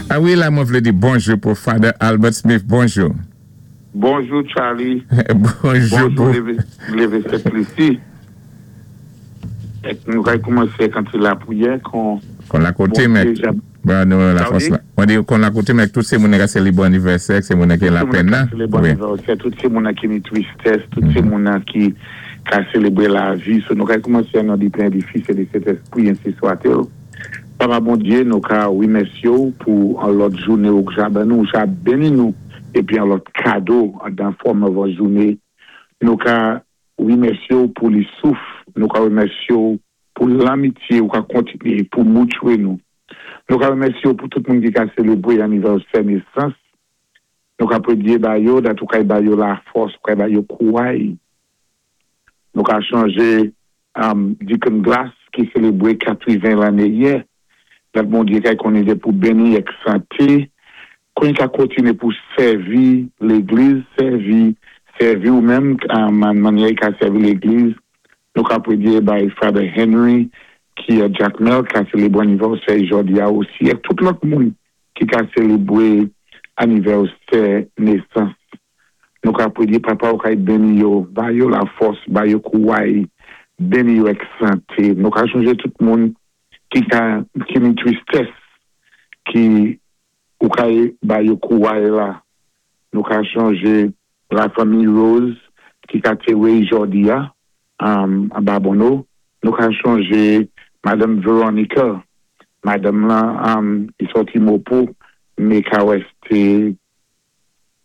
A wi la mwen vlé di bonjou pou Father Albert Smith bonjou. Bonjou Charly Bonjou pou. Lévé Sent Lisi èk nou kay koumansé ak an ti lapriyè kon. Kon lakote mèt ba nou lafòs la. Mwen di kon lakote mèt tout sé moune ka sélébwé anivèsè ak sé moune ki lapèn nan. Tout sé moune ka sélébwé anivèsè, tout sé moune ki ni tristès, tout sé moune ki ka sélébwé lavi. So nou kay koumansé an non di Pè, di Fis e di Sentespri ensi swatil. Papa Bondye nou ka remèsye w pou an lòt joune ou k ja ban nou, ou ja beni nou epi an lòt kado andan fòm anvan joune. Nou ka remèsye w pou li souf, nou ka remèsye w pou lamitye ou ka kontinye pou moutchwe nou. Nou ka remèsye w pou tout moun ki ka selebre anivèsè nesans. Nou ka predye ba yo dat ou kay ba yo lafòs, ou kay ba yo kouray. Nou ka chonje Deacon Glass ki selebre 80 lanne yè. Dat Bondye kay konnen de pou beni ek sante, kon ka kontine pou sèvi legliz, sèvi sèvi ou menm an mannyè i ka sèvi legliz. Nou ka predye bay Father Henry ki a Jakmèl ka selebre anivèsè jòdi a osi ek tout lòt moun ki ka selebre anivèsè nesans. Nou ka predye Papa ou kay beni yo, ba yo lafòs, ba yo kouray, beni yo ek sante. Nou ka chonje tout moun ki ka ki ni tristès ki ou kay ba yo kouray la. Nou ka chonje la fanmi Rose ki ka tere jòdi a anba Bonneau. Nou ka chonje Madanm Veronica, madanm lan ki sòti Mopo, me ka wè se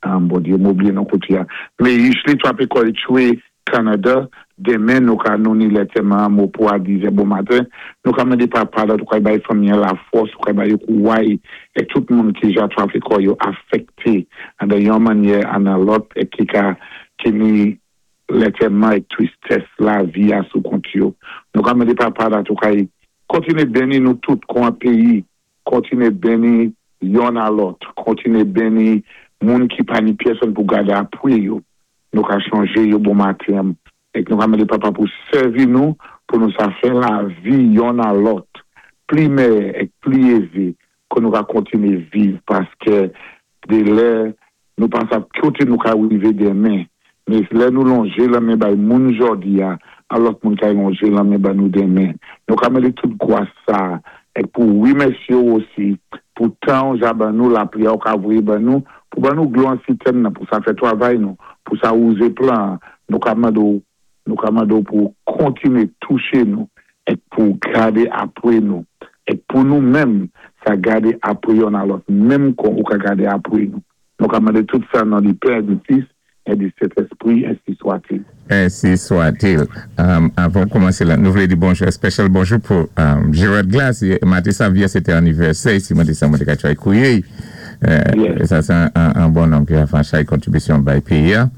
Bondye m oubliye non kote a. Meyis li trape kò li tchwe Canada demen nou ka nou ni lè tèman an mo pou a dizè bon maten nou ka mande papa la tou kay bay fanmi an lafòs ou kay bay yo kouray e tout moun ki ja trape kò yo afekte andan yon mannyè a nan lòt e ki ka ki ni lè tèman e tristès lavi a sou kont yo nou ka mande papa la tou kay kontinye beni nou tout kon an peyi Kontinye beni yonn a lòt. Kontinye beni moun ki pa ni pyèsonn pou gade apwe yo. Nou ka chonje yo bon maten. Èk nou ka mande Papa pou sèvi nou pou nou sa fè lavi yonn a lòt pli mèyè èk pli eze ke nou ka kontinye viv paskè de lè Nou pa sab kote nou ka rive demen, men lè nou lonje lanmen bay moun jòdi a, an lòt moun kay lonje lanmen ban nou demen. Nou ka mande tout gwas sa, èk pou remèsye w osi pou tan w ja ban nou, lapli a w ka voye ban nou, pou ban nou glo an sitèn nan, pou sa fè twavay nou, pou sa wouze plan an. Nou ka mande w Nou ka mande w pou w kontinye touche nou èk pou w gade apre nou, èk pou nou menm sa gade apre yonn a lòt menm kon ou ka gade apre nou. Nou ka mande tout sa nan di Pè, di Fis, è di Sentespri, ensi swatil. Ensi swatil. Avan w koumanse la, nou vle di bonjou, especial bonjou pou Gerard Glass. Maten sa vyè se te anivèsè i, si mwen te sa mwen te ka try kouye i. Sa se an bon nonm ki ka fè an chay kontribisyon bay peyi a.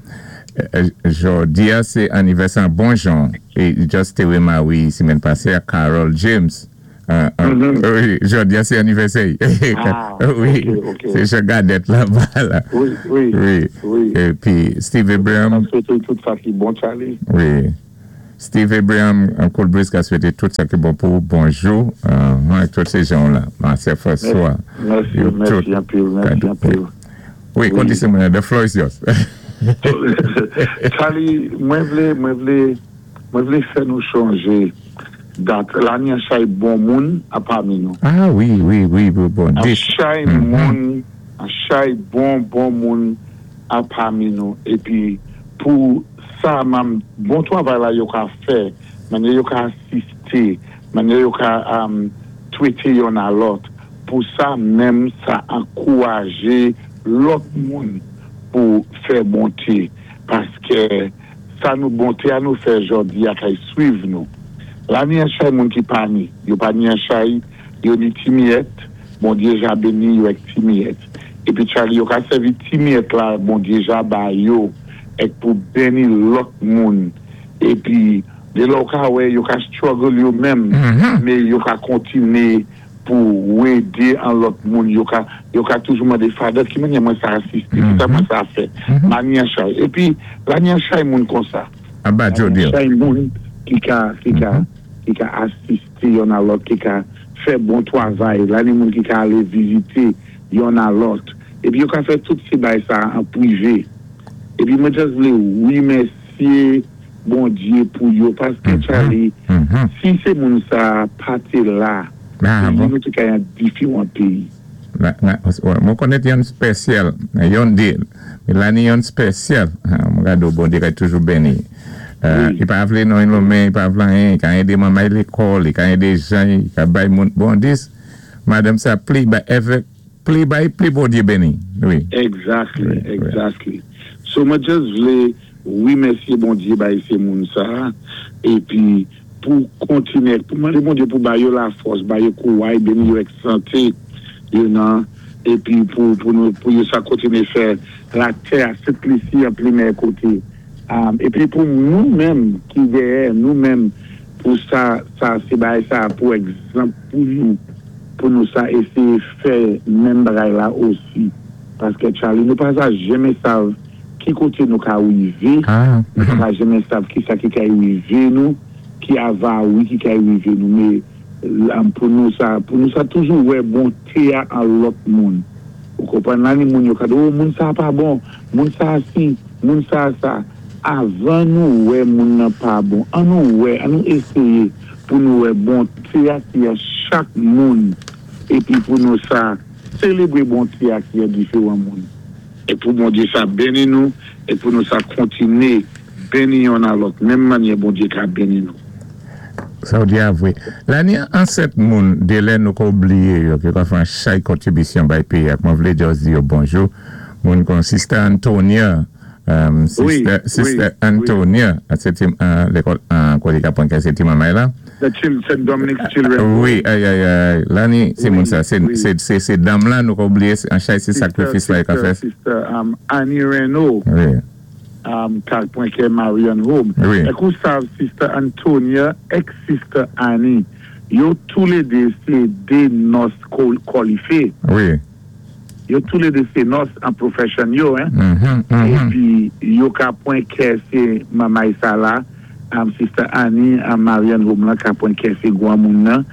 Jodi a se anivèsè an bon jan e just te remari semèn pase ak Carol James wi jodi a se anivèsè li wi se jan Gadèt la ba la wi epi Steve Abraham wi Steve Abraham Cool Breeze ka swete tout sa ki bon pou ou bonjou ak tout se jan w la ma sè François yo tout Wi kondisyon mwen an the floor is yours. Charly mwen vle mwen vle mwen vle fè nou chonje dat la ni an chay bon moun a pami nou. Ah wi wi wi bon An chay moun an chay bon bon moun a pami nou epi pou sa mam bon twavay la yo ka fè manyè yo ka asiste manyè yo ka twete yonn a lòt Pou sa menm sa ankouraje lòt moun pou fè bonte, paskè sa nou bonte a nou fè jòdi a kay swiv nou. La ni an chay moun ki pa ni, yo pa ni an chay, yo ni ti miyèt, Bondye ja beni yo èk ti miyèt. Epi Charly yo ka sèvi ti miyèt la Bondye ja ba yo èk pou beni lòt moun epi de lè ou ka wè yo ka struggle yo menm me yo ka kontine pou w ede an lòt moun yo ka yo ka toujou mande Father ki manyè mwen sa asiste kisa mwen sa fè manyanchay epi lanyanchay moun konsa lanyanchay moun ki ka ki ka ki ka asiste yonn a lòt ki ka fè bon twavay lani moun ki ka ale vizite. yonn a lòt. Épi yo ka fè tout sé bay sa an pwivé. Épi mwen just vlé wimèsyé Bondyé pou yo paské Charly si sé moun sa pa té la péyi nou té ka yon difiwan péyi. Mwen konnèt yonn spèsyal yonn dé Melanie yonn spèsyal mwen gade w Bondye ka toujou beni li pa vle non lonmen li pa vle anyen li ka ede manmay lekòl li ka ede jan li ka bay moun bon dis madanm sa pli bay evèk pli bay pli Bondye beni wi. Exactly exactly so mwen just vle remèsye Bondye bay se moun sa epi pou kontinye pou mande Bondye pou ba yo lafòs ba yo kouray beni yo ak sante yo nan epi pou pou nou pou yo sa kontinye fè latè a Sent Lisi an pli mèyè kote epi pou nou menm ki dèyè nou menm pou sa sa se bagay sa pou egzanp pou nou pou nou sa eseye fè menm bagay la osi paske Charly nou pa sa jenmen sav ki kote nou ka rive nou pa ka jenmen sav kisa ki kay rive nou ki avari ki kay rive nou me pou nou sa pou nou sa toujou wè bonte a an lòt moun ou konprann la ni moun yo ka di oh moun sa pa bon moun sa si moun sa sa avan nou wè moun nan pa bon an nou wè an nou eseye pou nou wè bonte a ki an chak moun epi pou nou sa selebre bonte a ki an diferan moun. E pou Bondye sa beni nou e pou nou sa kontine beni yonn a lòt menm manyè Bondye ka beni nou. Sa w di a vre. Lani an 7 moun delè nou ko bliye yo ki ka fè an chay kontribisyon bay peyi a mwen vle just di yo bonjou moun kon sister Antonia sister sister Antonia se ti lekòl kote ka pran kè se ti manmay la. The Saint Dominic's Children Home. Wi ayayay Lani se moun sa se se dam lan nou ka bliye an chay se sakrifis la yo ka fè. Sister sister Annie Renaud wi ka pran kè Marion Home. Wi. Èk ou sav sister Antonia èk sister Annie yo tou le 2 se 2 nòs kòlife. Wi. Yo tou le 2 se nòs an profession yo hein. Epi yo ka pwen kè se manmay sa la sister Annie an Marianne Home lan ka pwen kè se gwanmoun nan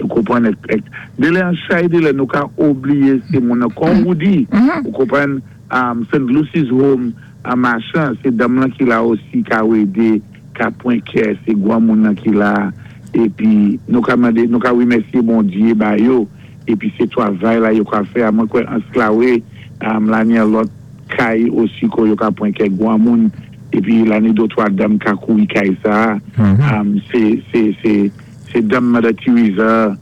ou konprann ek delè an chay delè nou ka obliye se moun nan kon Roody ou konprann Saint Lucy's Home an machan se danm lan ki la osi ka wede ka pwen kè se gwanmoun nan ki la epi nou ka mande nou ka remèsye Bondye ba yo. Epi se twavay la yo ka fè a mwen kwè ansklawe lani an lòt kay osi ko yo ka pran kèk gwanmoun epi lani do 3 dam ka kouri kay sa a se se se se dam mother Teresa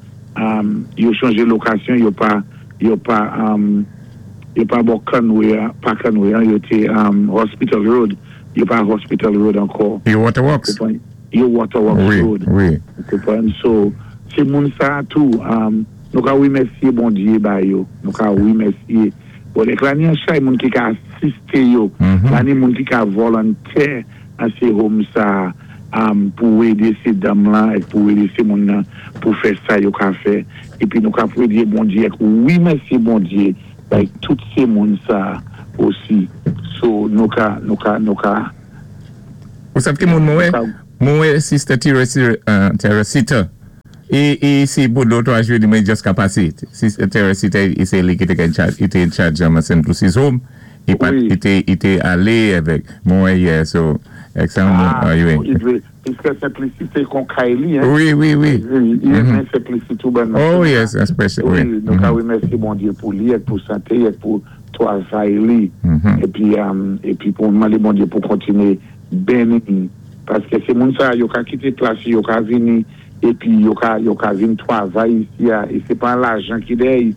yo chanje lokasyon yo pa yo pa yo pa bò Conway a pa Conway an yo te Hospital Road yo pa Hospital Road ankò Yo Waterworks. Yo Waterworks Road. Ou konprann? So, se moun sa a tou, nou ka remèsye Bondye ba yo. Nou ka remèsye Bondye. Ek la ni an chay moun ki ka asiste yo. La ni moun ki ka volontè an se home sa a pou ede se danm lan ek pou ede se moun nan pou fè sa yo ka fè. Epi nou ka pwedye Bondye ek remèsye Bondye bay tout se moun sa a osi. So, nou ka, nou ka, nou ka. Ou sav ki moun mwen wè? Mwen wè sister Teresita. E si pou do 3 jou mwen just ka pase. Sister Teresita e se li ki te in charge, te in charge um, St. Lucy's Home. I pat, i te, i te ale avèk mwen wè yè, so, ek sa moun, ah, wi. Piske St. Lucie se kon kay li, hein. Wi, wi, wi. I renmen St. Lucie tou ban. Oh yes, especially, wi. Wi, nou ka remèsye Bondye pou li, ek pou sante, ek pou travay li epi epi pou mande Bondye pou kontinye beni paske se moun sa yo ka kite plas yo ka vini epi yo ka yo ka vin travay isi a e se pa lajan ki dèy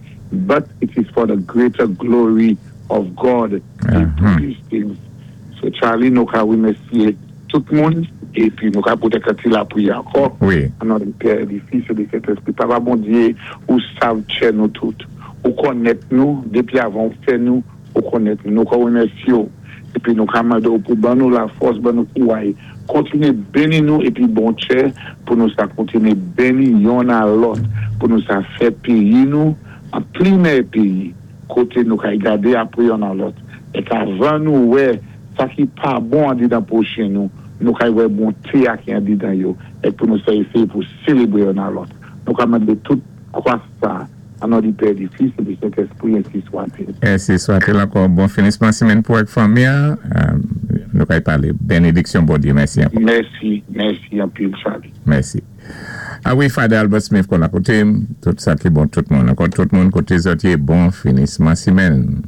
but it is for the greater glory of God they do these things so Charly nou ka remèsye tout moun epi nou ka pote kèk ti lapriyè ankò o non di Pè di Fis e di Sentespri Papa Bondye ou sav tchè nou tout ou konnèt nou depi avan ou fè nou ou konnèt nou nou ka remèsye w epi nou ka mande w pou ban nou lafòs ban nou kouray kontinye beni nou epi bon tchè pou nou sa kontinye beni yonn a lòt pou nou sa fè peyi nou an pli mèyè peyi kote nou kay gade apre yonn a lòt èk avan nou wè Sa ki pa bon andedan pwochen nou, nou kay wè bonte a ki andedan yo, èk pou nou sa eseye pou selebre yonn a lòt. Nou ka mande tout kras sa. An non di Pè, di Fis é di Sentéspri, ensi swatil. Ensi swatil ankò. Bon finisman simenn pou ak fanmi an. Nou kay palé. Benediksyon Bondyé. Mèsi ankò. Mèsi, mèsi anpil Charly. Mèsi. A wi Father Albert Smith konn akote m. Tout sa ki bon tout moun. Ankò tout moun koté zòt yé bon finisman simenn.